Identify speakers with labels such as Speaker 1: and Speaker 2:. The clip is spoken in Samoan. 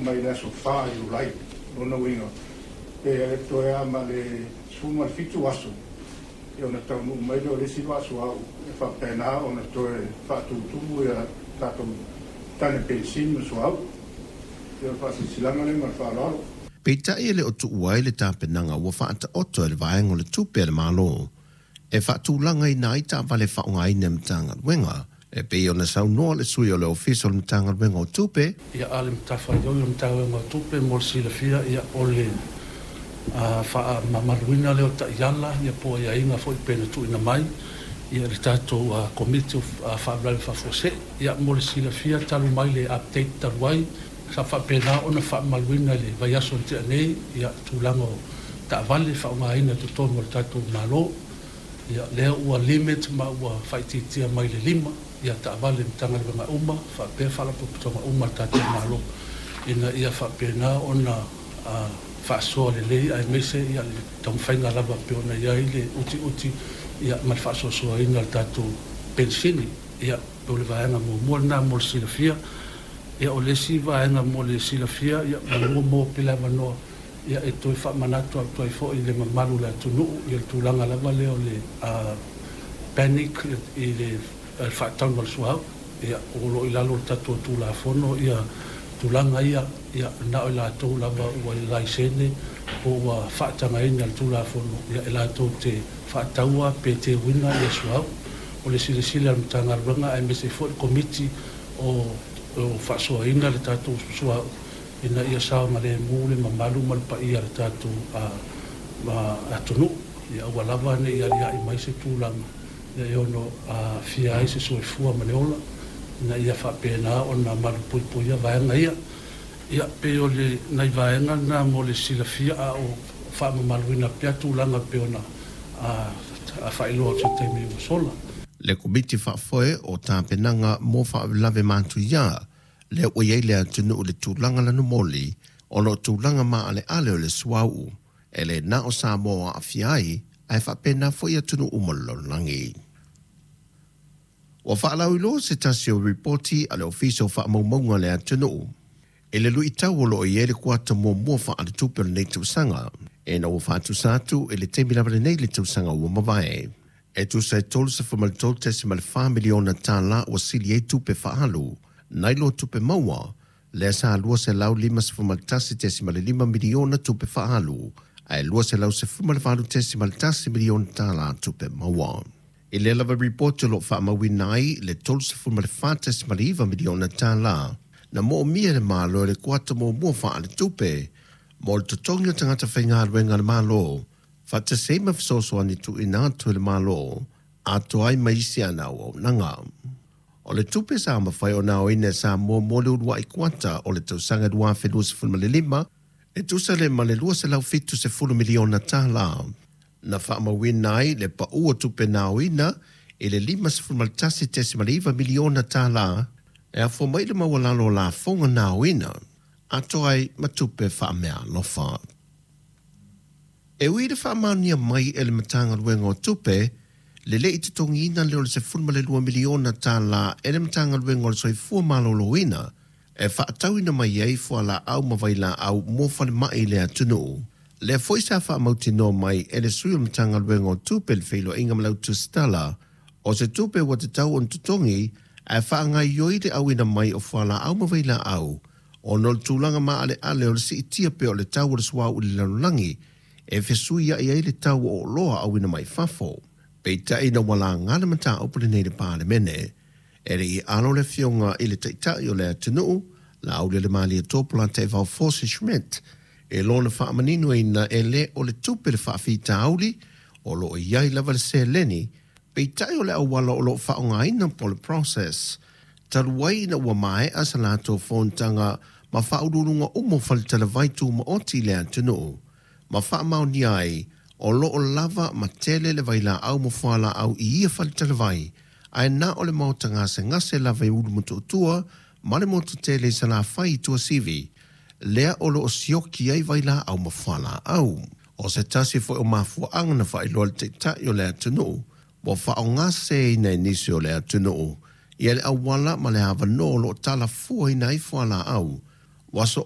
Speaker 1: mai le aso 4 Iulai. Lona uiga, pe toe lava ma le 17 aso, ia ona taunuu mai lea o le isi vaa suauu e faapena ona toe faatutumu ia tatou tane penisini ma suauu. Ia o le faasilasilaga lea ma le faaaloalo.
Speaker 2: Peitai e le o tuua ai le tapenaga ua faataoto e le Vaega o le Tupe a le Malo e faatulagaina ai taavale faaaogaina e Matagaluega, e pei ona saunoa le sui o le Ofisa o le Matagaluega o Tupe.
Speaker 3: Ia, a o le matafaioi o le Matagaluega o Tupe mo le silafia, ia, o le faamamaluina lea o taiala ia po o aiaiga foi pei ona tuuina mai ia le tatou Komiti o Faalavelave Faafuasei. Ia, mo le silafia talu mai le update talu ai, sa faapena ona faamamaluina i le vaiaso na tea nei ia tulaga o taavale faaaogaina i totonu o le tatou Malo. Ia, lea ua limit ma ua faaitiitia mai le 5 ia taavale i Matagaluega uma faapea faalapotopotoga uma a le tatou Malo ina ia faapena ona faasoa lelei aemaise ia le taumafaiga lava pei ona i ai le utiuti ia ma le faasoasoaina o le tatou penisini. Ia, o le vaega muamua lena mo le silafia. Ia, o le isi vaega mo le silafia, ia, manu ua maua pea le avanoa ia e toe faamanatu atu ai foi i le mamalu o le atunuu ia le tulaga lava lea o le panic i le faatauga o le suauu. Ia, o lo o i lalo o le tatou Tulafono ia tulaga ia, ia na o i latou lava ua laisene po ua faatagaina e le Tulafono ia e latou te faataua pe teuina ia suauu. O le silasila a le Matagaluega aemaise foi le Komiti o faasoaina le tatou suauu ina ia saogalemu le mamalu ma le paia o le tatou atunuu, ia aua lava ne i aliae mai se tulaga e ono aafia ai se soifua ma le ola, ina ia faapena ona malupuipuia vaega ia. Ia, pei o le nai vaega na mo le silafia, a o faamamaluina pea tulaga pei ona faailoa atu i se taimi ua sola.
Speaker 2: Le Komiti Faafoe o Tapenaga mo Faalavelave Matuia, lea ua i ai le atunuu i le tulaga lanumoli ona o tulaga maaleale o le suauu, e le na o Samoa o aafia ai, ae faapena foi atunuu uma o le lalolagi. Ua faalauiloa se tasi o ripoti a le Ofisa o Faamaumauga a le atunuu i le luitau o lo o i ai le kuata muamua faaletupe o lenei tausaga, ina ua faatusa atu i le taimi lava lenei i le tausaga ua mavae. E tusa e $33.4 miliona tala ua sili ai tupe faaalu nai lo tupe maua, lea sa $251.5 miliona tupe faaalu ae $218.1 miliona tala tupe maua. I lea lava ripoti o lo o faamauina ai le $34.9 miliona tala na moomia e le Malo i le kuata muamua faaletupe mo le totogi o tagata faigaluega a le Malo, faatasi ai ma fesoasoani tuuina atu e le Malo atoa ai ma isi ana auaunaga. O le tupe sa mafai ona aoina e Samoa mo le uluai kuata o le tausaga 2025 e tusa lea ma le $270 miliona tala. Na faamauina ai le pau o tupe na aoina i le $51.9 miliona tala e afua mai i le maualalo o lafoga na aoina atoa ai ma tupe faameaalofa. E ui i le faamaonia mai e le Matagaluega o Tupe le le i totogiina lea o le $12 miliona tala e le Matagaluega o le Soifua Maloloina e faatauina mai ai fualaau ma vailaau mo falemai i le atunuu, lea foi sa faamautinoa mai e le sui o le Matagaluega o Tupe le Feiloaiga ma le Autusitala o se tupe ua tatau ona totogi ae faagaoioi le auina mai o fualaau ma vailaau ona o le tulaga maaleale o le siitia pea o le tau o le suauu i le lalolagi e fesuiai ai le tau o oloa auina mai fafo. Peitai ina ua laga le mataupu lenei i le Palemene, e le i alo le Afioga i le Taitai o le atunuu, Laaulialemalietoa Polataivao Fosi Schmidt, e lona faamaninoina e le o le tupe le faafitauli, o lo o i ai lava le seleni, peitai o le auala o lo o faaaogaina po o le process. Talu ai ina ua maea sa latou fonotaga ma faauluuluga uma o faletalavai tumaoti i le atunuu, ma faamaonia ai o lo o lava ma tele le vailaau ma fualaau i ia faletalavai, ae na o le maota gasegase lava i Ulumotootua ma le motu tele i Salafai i Tuasivi, lea o lo o sioki ai vailaau ma fualaau. O se tasi foi o mafuaaga na faailoa e le Taitai o le atunuu ua faaaogaseseina e nisi o le atunuu ia le auala ma le avanoa o lo o talafuaina ai fualaau ua soona.